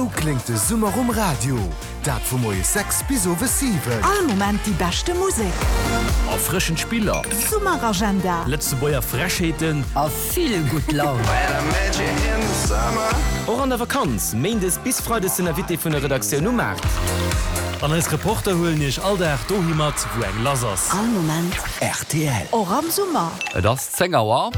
Esou kléngt de Summer um Radio, dat vu moies 6 bis owes 7. All Moment déi beschte Musek. Erfrëschend Spiller. Summeragenda. Lëtzebuerger Frechheeten. A vill gutt Laun. Och an der Vakanz, Méindes bis Freides den Invité vun der Redaktioun um Maart. An eis Reporter huelen iech all Dag dohi mat, wou eng lass ass. All Moment. Rtl. Och am Summer. Et ass 10 Auer.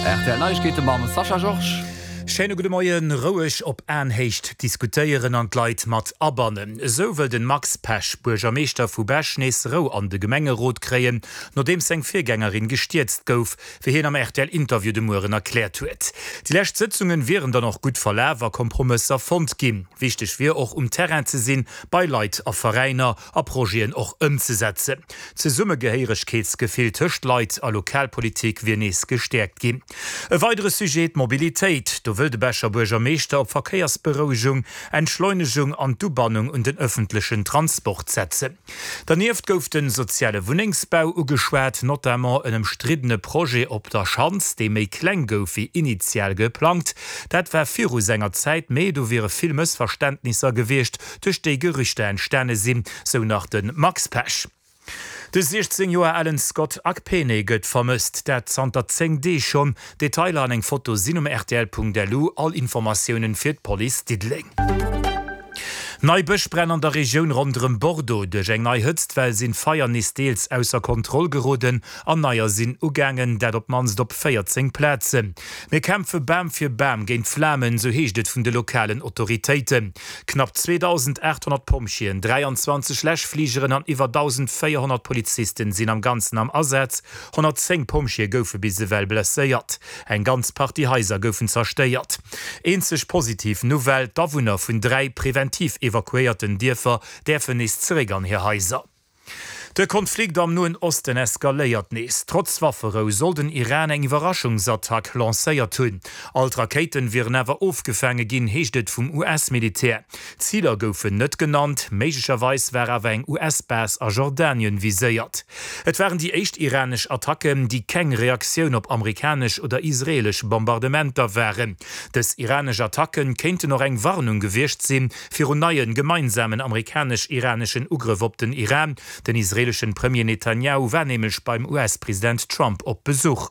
Rtl Neiegkeete mam Sascha Georges. Schéine gudde Moien. Roueg op Aenhéicht diskutéieren an d'Leit mat abannen. Esou wëll den Max Pesch, Buergermeeschter vu Bech, nees Rou an de Gemengerot kréien, nodeems seng Virgängerin gestierzt gouf, wéi hien am RTL-Interview de Mueren erkläert huet. Déi lescht Sëtzungen wieren dann och gutt verlaf a Kompromësser fonnt ginn. Wichteg wier och, um Terrain ze sinn, bei Leit a Veräiner a Projeten och ëmzesetzen. D'Zesummegehéieregkeetsgefill tëscht Leit a Lokalpolitik wier nees gestäerkt ginn. E weidere Sujet, d'Mobilitéit. Do wëll de Becher Buergermeeschter op Verkéiersberouegung, Entschleunegung an d'Ubannung un den ëffentlechen Transport setzen. Dernieft gouf de soziale Wunnengsbau ugeschwat, notamment en ëmstriddene Projet op der Schanz, dee méi kleng gouf wéi initial geplangt. Dat war viru senger Zäit, mee do wiere vill Mëssverständnisser gewiescht, duerch déi Gerüchter entstane sinn, sou nach de Max Pesch. De 16 Joer alen Scott Akpene gëtt vermësst, dat zanter 10 Deeg schonn. Detailer an eng Foto sinn um rtl.lu. All Informatiounen fir d'Police Diddeleng. Nei Bëschbränn an der Regioun ronderëm Bordeaux. Duerch eng nei Hëtztwell sinn d'Feier nees deels ausser Kontroll geroden an neier sinn ugaangen, dat op d'mannst op 14 Plazen. Mir kämpfe Bam fir Bam géint d'Flamen, sou heescht et vun de lokalen Autoritéiten. Knapp 2.800 Pompjeeën, 23 Läschfligeren an iwwer 1.400 Polizisten sinn am Ganzen am Asaz. 110 Pompjeeë goufe bis ewell blesséiert. Eng ganz Partie Haiser goufen zerstéiert. Eenzeg positiv Nouvelle, D'Awunner vun 3 preventiv evakuéierten Dierfer däerfen nees zeréck an hir Haiser. De Konflikt am Noen Osten eskaléiert nees. Trotz Wafferou soll den Iran eng Iwwerraschungsattack lancéiert hunn. All d'Rakéiten wieren awer ofgefaange ginn, heescht et vum US-Militär. Ziler goufen net genannt, méiglecherweis war awer eng US-Base a Jordanien viséiert. Et waren déi éischt iranesch Attacken, déi keng Reaktioun op amerikanesch oder israeelesch Bombardementer waren. Dës iranesch Attacken kéinten och eng Warnung gewiescht sinn, Virun neien gemeinsamen amerikanesch-iraneschen Ugrëff op den Iran. Den israeleschen Premier Netanyahu war nämlech beim US-President Trump op Besuch.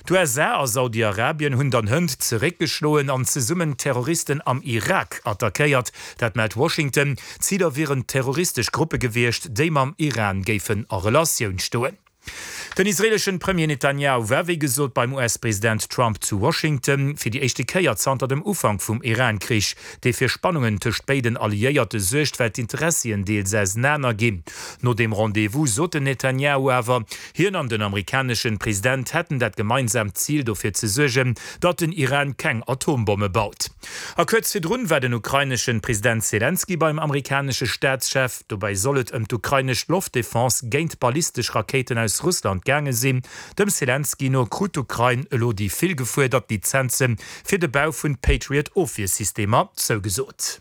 D'USA a Saudi-Arabien hunn dann hënt zeréckgeschloen an zesummen Terroristen am Irak attackéiert. Dat mellt Washington. Ziler wieren terroristesch Gruppe gewiescht, déi mam Iran géifen a Relatioun stoen. Den israeleschen Premier Netanyahu war wéi gesot beim US-President Trump zu Washington, fir déi éischte Kéier zanter dem Ufank vum Iran-Krich, dee fir Spannungen tëscht béiden Alliéierte suergt, well d'Interessien deels ausenaner ginn. No deem Rendez-vous sot den Netanyahu awer, hien an den amerikaneschen President hätten dat gemeinsaamt Zil, dofir ze suergen, datt den Iran keng Atombomme baut. A kuerz virdrun war den ukraineschen President Selenskyj beim amerikanesche Staatschef. Dobäi soll et ëm d'ukrainesch Loftdefense géint ballistesch Rakéiten aus Russland gaange sinn. Dem Selenskyj no krut d'Ukrain elo déi vill gefuerdert Lizenze fir de Bau vun Patriot-Ofwiersystemer zougesot.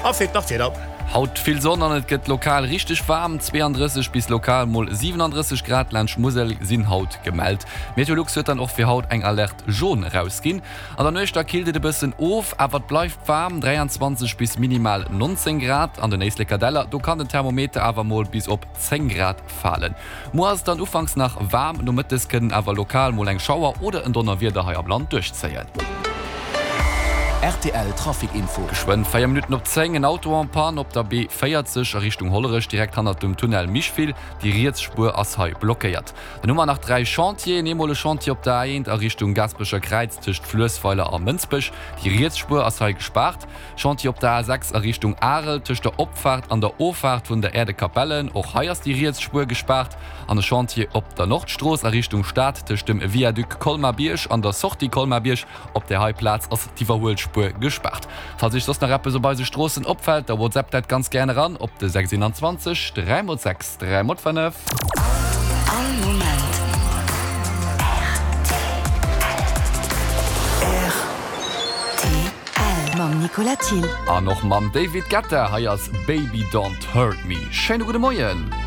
A fir d'Nachtwieder. Haut vill Sonn an et gëtt lokal richteg waarm, 32 bis lokal mol 37 Grad laanscht Musel sinn haut gemellt. Meteolux huet dann och fir haut eng Alerte jaune erausginn. An der Nuecht da killt et e bëssen of, awer et bleift waarm, 23 bis minimal 19 Grad. An den Éisleker Däller, do kann den Thermometer awer mol bis op 10 Grad falen. Muer ass et dann ufanks nach waarm, nomëttes kënnen awer lokal mol eng Schauer oder en Donnerwieder hei am Land duerchzéien. Rtl Trafic Info. Geschwënn 4 Minutten op 10, en Auto en panne op der B 40 a Richtung Hollerech, direkt hannert dem Tunnel Micheville. Déi riets Spuer ass hei blockéiert. Dann hu mer nach 3 Chantieren, eemol e Chantier op der A1 a Richtung Gaasperecher Kräiz tëscht Fluessweiler a Mënsbech, déi riets Spuer ass hei gespaart. Chantier op der A6 a Richtung Arel tëscht der Opfaart an der Offaart vun der Äerdekapelle, och hei ass déi riets Spuer gespaart. An e Chantier op der Nordstrooss a Richtung Stad tëscht dem Viaduc Colmar-Bierg an der Sortie Colmar-Bierg, op där hei Plaz ass d'Iwwerhuelspuer gespaart. Falls Iech soss nach eppes op eise Stroossen opfält, da WhatsApp dat ganz gären eran op de 621 3 x 6 3 x 5. All Moment rtl mam Nicolas Thill. An och mam David Guetta, hei ass Baby Don't Hurt Me. Schéine gudde Moien.